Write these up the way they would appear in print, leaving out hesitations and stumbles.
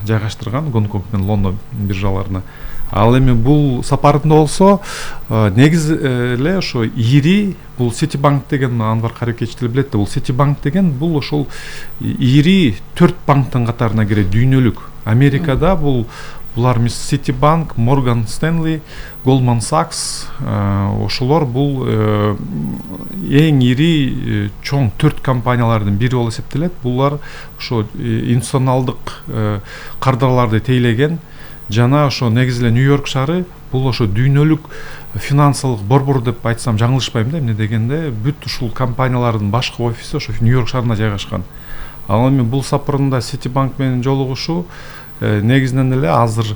жайгаштырган Гонконг менен Лондон биржаларына. Ал эми бул сапарында болсо негизи эле ошо ири бул Citibank деген Анвар Каракеч деле билет да, бул Citibank деген бул ошол ири 4 банктын катарына кирет, дүйнөлүк. Америкада булар Citibank, Morgan Stanley, Goldman Sachs, ошолор бул эң ири чоң 4 компаниялардын бири болуп эсептелет. Булар ошо институционалдык кардарларды тейлеген жана ошо негизи эле Нью-Йорк шаары бул ошо дүйнөлүк финансылык борбор деп айтсам жаңылышпайм да. Эмне дегенде бүт ушул компаниялардын башкы офиси ошо Нью-Йорк шаарында жайгашкан. Ал эми бул сапарында Citibank менен жолугушуу негизинен эле азыр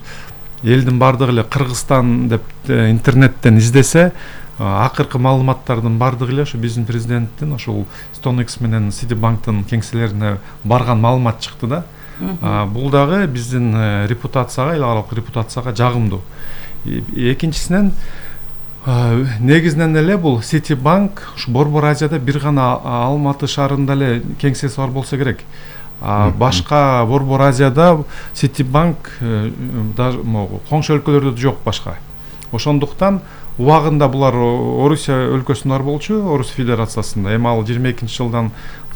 элдин бардыгы эле Кыргызстан деп интернеттен издесе акыркы маалыматтардын бардыгы эле ошо биздин президенттин ошол StoneX менен Citibanktын кеңселерине барган маалымат чыкты да. Бул дагы биздин репутацияга, эл аралык репутацияга жагымдуу. Экинчисинен негизинен эле бул Citibank ушу Борбор Азияда бир гана Алматы шаарында эле кеңсеси бар болсо керек. Башка Борбор Азияда Citibank даже коңшу өлкөлөрдө жок башка. Ошондуктан убагында булар Орусия өлкөсүндө бар болчу, Орус Федерациясында. Эми ал 22 жылдан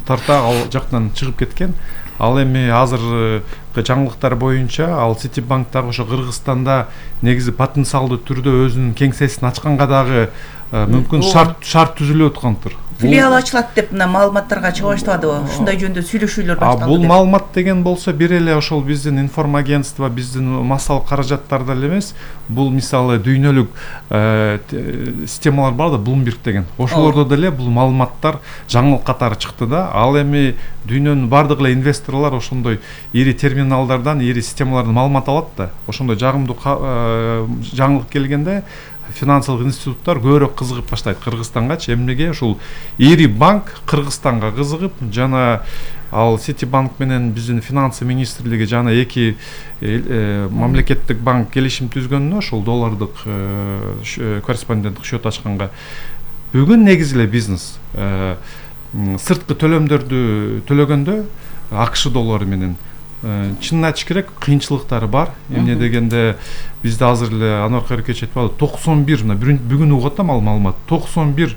тарта ал жактан чыгып кеткен. Ал эми азыркы жаңылыктар боюнча ал Citibank дагы ошо Кыргызстанда негизи потенциалдуу түрдө өзүнүн кеңсесин ачканга дагы мүмкүн шарт түзүлүп аткандыр. Филиал ачылат деп мына маалыматтарга чыга баштадыбы? Ушундай жөнүндө сүйлөшүүлөр башталды. Бул маалымат деген болсо бир эле ошол биздин информагентство, биздин массалык каражаттарда эле эмес, бул мисалы дүйнөлүк системалар бар да, Bloomberg деген. Ошолордо деле бул маалыматтар жаңылык катары чыкты да. Ал эми дүйнөнүн бардык эле инвесторлор ошондой ири терминалдардан, ири системалардан маалымат алат да. Ошондой жагымдуу жаңылык келгенде финансылык институттар көбүрөөк кызыгып баштайт Кыргызстангачы. Эмнеге ушул ири банк Кыргызстанга кызыгып, жана ал Citibank менен биздин финансы министрлиги жана эки мамлекеттик банк келишим түзгөнүнө ошол доллардык корреспонденттик счет ачканга бүгүн негизи эле бизнес сырткы төлөмдөрдү төлөгөндө АКШ доллары менен чынын айтыш керек, кыйынчылыктары бар. Эмне дегенде бизде азыр эле Анвар Каракеч айтпады, 91 бүгүн угат да маалымат 91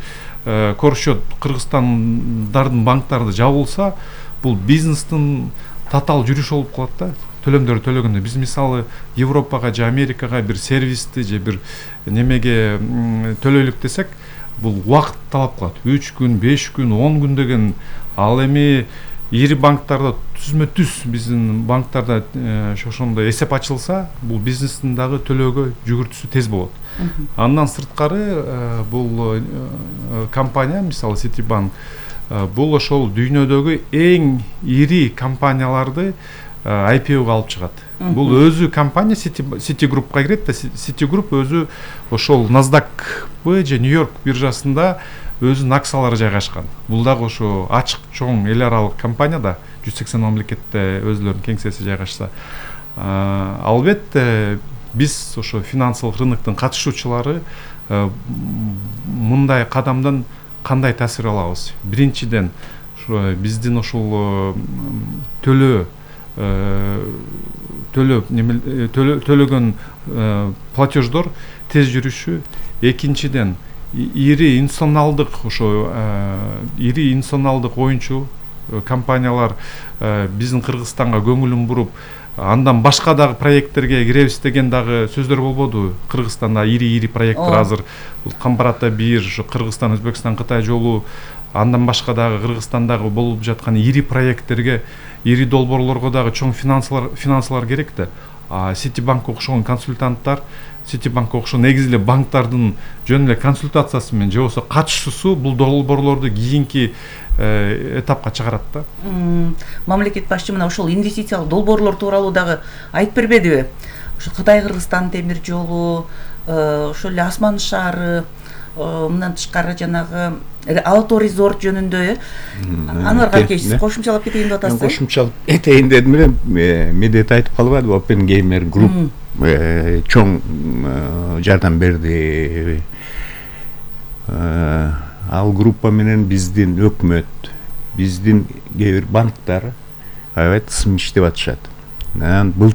корсчет Кыргызстандардын банктарды жабылса, бул бизнестин татаал жүрүшү болуп калат да. Төлөмдөрдү төлөгөндө биз мисалы Европага же Америкага бир сервисти же бир немеге төлөйлүк десек, бул убакыт талап кылат. 3 күн, 5 күн, 10 күн деген. Ал эми ири банктарда түзмө-түз биздин банктарда ошондой эсеп ачылса, бул бизнестин дагы төлөөгө жүгүртүүсү тез болот. Андан сырткары бул компания, мисалы Citibank, бул ошол дүйнөдөгү эң ири компанияларды IPO-га алып чыгат. Бул өзү компания Citigroup-ка кирет да. Citigroup өзү ошол NASDAQ же Нью-Йорк биржасында өзүнүн акциялары жайгашкан. Бул дагы ошо ачык чоң эл аралык компания да, 180 мамлекетте өзлөрүнүн кеңсеси жайгашса. Албетте биз ошо финансылык рыноктун катышуучулары мындай кадамдан кандай таасир алабыз? Биринчиден, биздин ошол төлөгөн платеждор тез жүрүшү. Экинчиден, ири институционалдык оюнчу компаниялар биздин Кыргызстанга көңүлүн буруп, андан башка дагы проекттерге киребиз деген дагы сөздөр болбоду. Кыргызстанда ири проекттер азыр Камбар ата 1, ошо Кыргызстан, Өзбекстан, Кытай жолу, андан башка дагы Кыргызстандагы болуп жаткан ири проекттерге, ири долбоорлорго дагы чоң финансылар керек да. Citibank окшогон консультанттар, Citibank окшогон негизи эле банктардын жөн эле консультациясы менен же болбосо катышуусу бул долбоорлорду кийинки этапка чыгарат да. Мамлекет башчы мына ошол инвестициялык долбоорлор тууралуу дагы айтып бербедиби? Ошо Кытай Кыргызстан темир жолу, ошол эле Асман шаары, мындан тышкары жанагы Алто резорт жөнүндө Анвар Каракеч кошумчалап кетейин деп атасыз. Кошумчалап этейин дедим эле, Медет айтып калбадыбы, Open Gamer Group чоң жардам берди. Ал группа менен биздин өкмөт, биздин кээ бир банктар аябай тысым иштеп атышат. Бул